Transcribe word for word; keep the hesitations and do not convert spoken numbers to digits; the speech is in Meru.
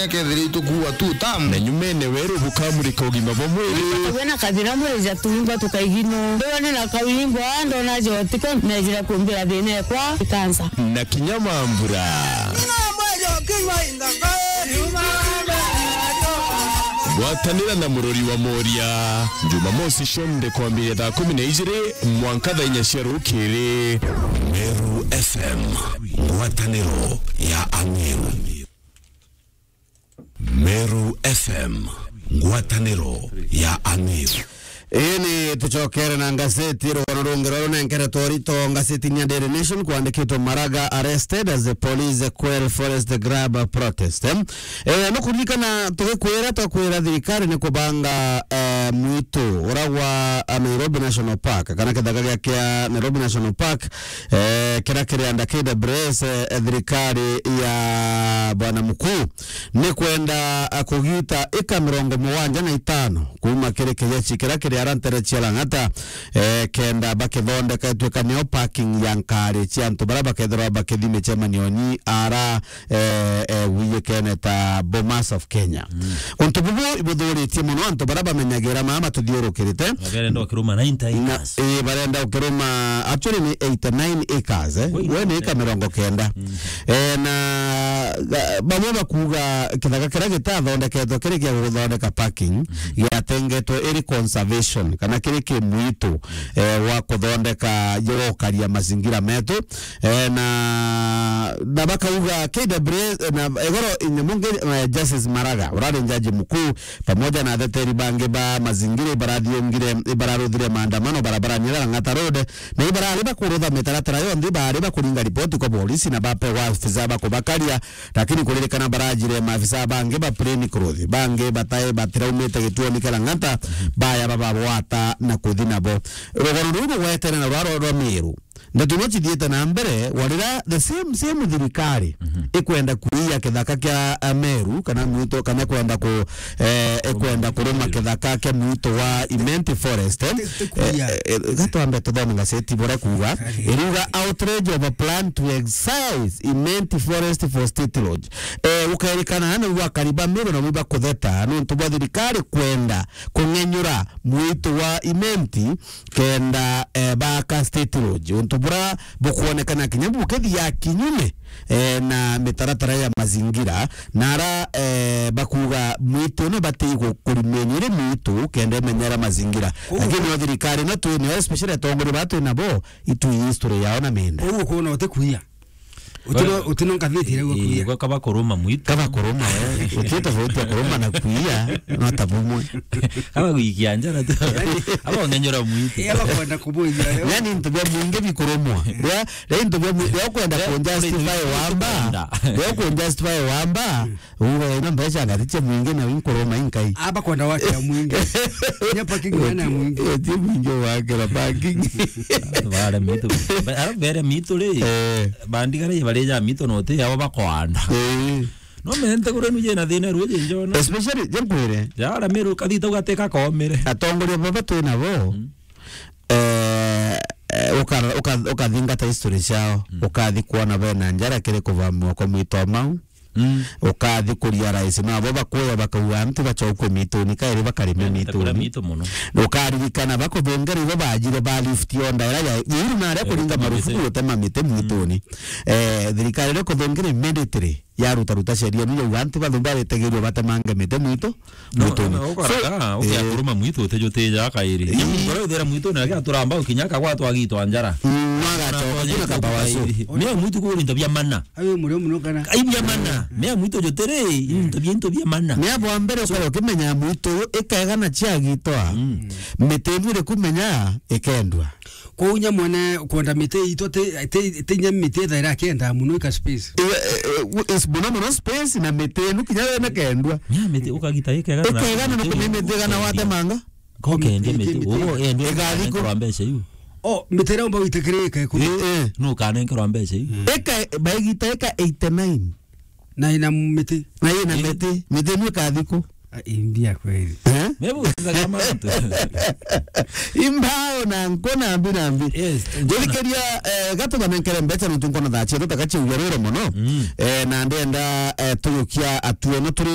Ekethira itukuua tu tamu. Na nyumene weru bukamurika ugima bwa mwiri. Tuwe na kathina mwiri ja tuimba tukaigino. Ndiwa ni na kawimbo, ndona jotiko, nejira kumbira thina ekwa ikansa. Na kinya mambura. Ngwatanira na murori wa Moria. Jumamosi cionthe kwambiria thaa kumi na ijiri mwanka thaa inya cia rukiri. Meru F M, ngwataniro ya Ameru. Meru F M, ngwataniro ya Ameru. Ii ni tucokere na ngaseti rugano rungi rwa runenkere twarito ngasetini ya Daily Nation kwandikitwe, Maraga arrested as the police quell forest grab protest. Eh, no kuririkana tugikwira, twakwira thirikari ni kubanga, eh, mwitu ura gwa, eh, Nairobi National Park, kana kithaka gia kia Nairobi National Park, eh, kiria kiri under K W S, eh, thirikari ya Bwana Mukuu ni kwenda, eh, kugita ika mirongo mugwanja na itano kuma kiri kijechi kiria kiri ara ntere cia Lang'ata, eh, kenda bakithondeka itwika nio parking ya nkari cia antu baria bakethirwa bakithi micemanioni ara eh, eh, wiyikene ta Bomas of Kenya. Mm. Untu bubu ibuthuritie mono antu baria bamenyagira maa matuthiurukirite. Na barenda ukiruma ninety acres. Eh, barenda ukiruma, actually ni eighty-nine acres, eh. Kweli? We ni ika mirongo kenda. Mm. Eh, na, ga-, bamwe bakuga kithaka kiria gitathondeketwe kiri gia guthondeka parking, mm, giatengetwe iri conservation, kana kiri kimwitu, eh, wa kuthondeka, wa gukaria mazingira metu. Eh, na, na bakauga K W S, eh, na igoro inyamu ngi, eh, Justice Maraga, urari jaji mukuu, pamoja na ateteri bangi ba mazingira ibarathiungire, ibararuthire maandamano barabarani ya Lang'ata Road, na ibarari bakurutha mitaratara yonthe, ibari bakuringa ripoti kwa polisi na bapewa afisa bakubakaria, lakini kuririkana barajire maafisa bangi ba plain clothes, bangi batai batiraumite gituoni kia Lang'ata, baya bababwata na kuthi nabo. Rugano ruu rugwetene na rwaro rwa Meru. Ndeto no cithiite na mbere, warira the same, same thirikari, mhm, ikwenda kuia kithaka kia, a, Meru, kana mwitu, kana kwenda ku-, eh, ikwenda kuruma kithaka kia mwitu wa Imenti Forest, eh. Ti-, ti kuia. Eh, eh, gatwambe tuthome ngaseti buria kuuga. Ari. Iruga outrage of a plan to excise Imenti Forest for state lodge. Eh, ukairikana na ugakariba Meru na mwiba kutheta, nontu bwa thirikari kwenda kung'enyura mwitu wa Imenti kenda, eh, baaka state lodge, untu bura bukwonekana kinya bukithia kinyume, eh, na mitaratara ya mazingira, na ara, eh, bakuga mwitu ino bati gu-, kurimenya iri mwitu kenda imenyera mazingira. Lakini o thirikari ino twinayo, especially atongoria baa twinabo, itui history yao na mienda. Uguo kwona utikuia. Utino, utino ngathiti ria gwa kuia. Ii, gwa kaba kuruma mwitu. Kaba kuruma, eh. Uti tofauti ya kuruma na kuia, no ta bumwe. Aba gwikia njara tu. Aba ung'enyura mwitu. Ii, aba kwenda kubuithia. Yani, into bia mwingi bikurumwa. Ria, ria into bia mwi-, ria ukwenda ku justify wamba. Ria ku justify wamba. Uga ina mbeca ngati cia mwingi na winkuruma inkai. Aba kwenda wakira mwingi. Nya parking ina mwingi. Eti mwingi wakira parking. Bare mitu. Ba-, ara bare mitu ri. Eh. Bandigara ibarija mitu no te yao bakwanda. Eh. No mente kure nuje na thina ruje njona. Especially, je nkwire. Jara Meru kathita ugateka komere. Atongoria baba twinabo. Mm. Eh, eh, uka-, uka-, ukathingata history ciao. Mm. Ukathi kuona bena njara kiri kuvamua kwa mwito mau. Mm. Ukathi kuria rais, na bo bakuya bakauga, "Antu bacokwe mituni, kairi bakarime mituni." Mitu muno. Ukaririkana bakuthungera ibo bajire ba lift onda ira ya, iru na aria kuringa marufuku gutema miti mituni. Mm. Eh, thirikari ria kuthungera immediately yaruta ruta sheria nu yauga, "Antu bathu baritegerio batemange miti mwitu." No, mwitu no, ni. Ukaraka, so, ukia eh, kuruma mwitu utejutija kairi. Eh. Nyamukore uthera mwitu na kia turamba ukinya kagwa twagitwa njara. Mm, mwagacoka kuna kabawacu. Mea mwitu kuri into bia mana. Ayo murio muno kana. Ai bia mana. Mea mwitu jutiri, into bia, into bia mana. Mea bwa mbere ukare ukimenya mwitu uyu ikegana ciagitwa. Mm. Miti iri kumenya ikendwa. Kwou nya mwene kwenda miti itwe ti, ti, ti nya miti ethaira akenda muno ika space. Eh, eh, eh, is muno muno space na miti inu kinya wene kendwa. Nya miti ukagita ikegana na ikegana na kumi miti gana watemanga. Ko kende miti, miti, ugo endwa igathiko. Kwa mbeca iu. Oh, miti ira umba witikirike ku. Eh, eh. No kanenkerwa mbeca iu. Eka, baigita eka eighty-nine. Na ina miti. Na ina miti. Miti inu ikathiko. Ah, imbia kweli. Eh? Maybe usikiza kama mtu. Imbao na nko na mbi na mbi. Yes, njona. Njithikiria, eh, gatubanenkere mbeca nontu nkona thaa cietu takaciuga rwiro mono. Mm. Eh, na ndenda, eh, tuyukia atuono turi